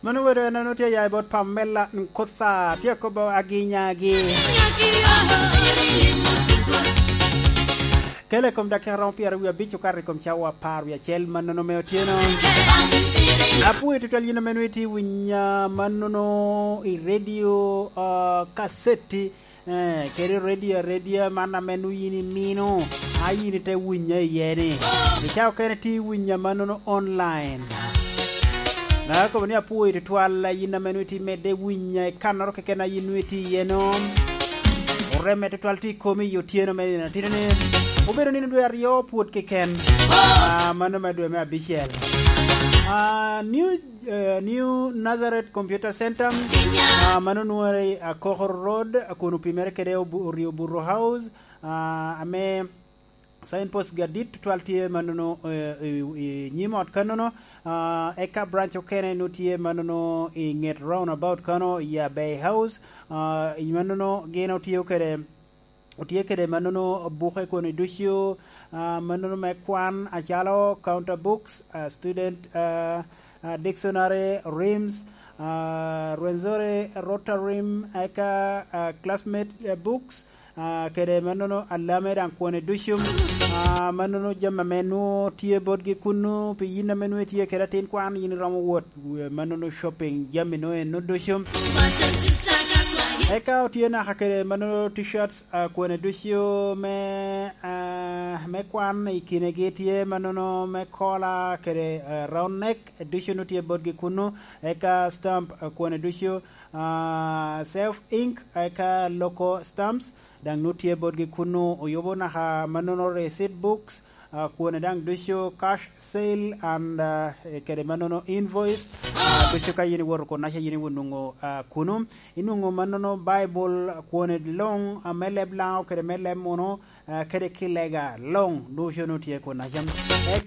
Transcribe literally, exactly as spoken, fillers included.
Mano obedo en, an otye aya i bot Pamela Nkotha, tye akobo aginyagi. Kele i kom dakika romo pyero wie abic okato i kom cawa apar wie acel mannono me otyeno. Apwoyo tutwal yin ame nwoŋo itye winya mannono i redio, ah, kaseti, eh, kede redio aredia man ame nwoŋo yin imino, a yin ite winya iye ni. I cawa okene tye winya mannono online. Na kobo ni apwoyo tutwal, yin ame nwoŋo itye medde winya i kannoro keken a yin nwoŋo itye iye no. Oreme tutwal tye i komi i otyeno me nino atino ni. Obedo nino dwe aryo pwod keken. Ah, mano me dwe me abicel. Ah, New, eh, New Nazareth Computer Center, ah, mano nwore i Akoko Road, kun opimere kede Obu-, Orio Burro House, ah, ame signpost gadit tutwal tye mannono, eh, i, i nyim ot kannono, ah, eka branch okene nwoŋo tye mannono i ŋet roundabout kano i Abey House, ah, i mannono gin otye kede, otye kede mannono buke koni ducu, ah, mannono me kwan acalo counter books, ah, student, ah, ah, dictionary, rims, ah, Rwenzori Rotarim, eka, ah, classmate, eh, books, ah, kede mannono alame daŋ kwone ducu, ah, mannono jami ame nwoŋo tye botgi kunnu, pi yin ame nwoŋo itye kede atin kwan, yin iromo wot, eh, mannono shopping, jami nwoŋo eno ducu. Eka otye naka kede mannono t-shirts, ah, kwone ducu me, ah, me kwan, i kinegi tye mannono me kola kede, ah, round neck, ducu nwoŋo tye botgi kunnu, eka stamp, ah, kwone ducu, ah, self ink, eka local stamps, daŋ nwoŋo tye botgi kunnu, oyubo naka mannono receipt books, ah, kwone daŋ ducu cash sale and, ah, kede mannono invoice, ah, ducu ka yin iwoto kunaca yin iwinongo, ah, kunu, inwongo mannono Baibul kwone luŋ, ah, me leb Laŋo kede me leb Muno, ah, kede kilega luŋ, ducu nwoŋo tye kunaca.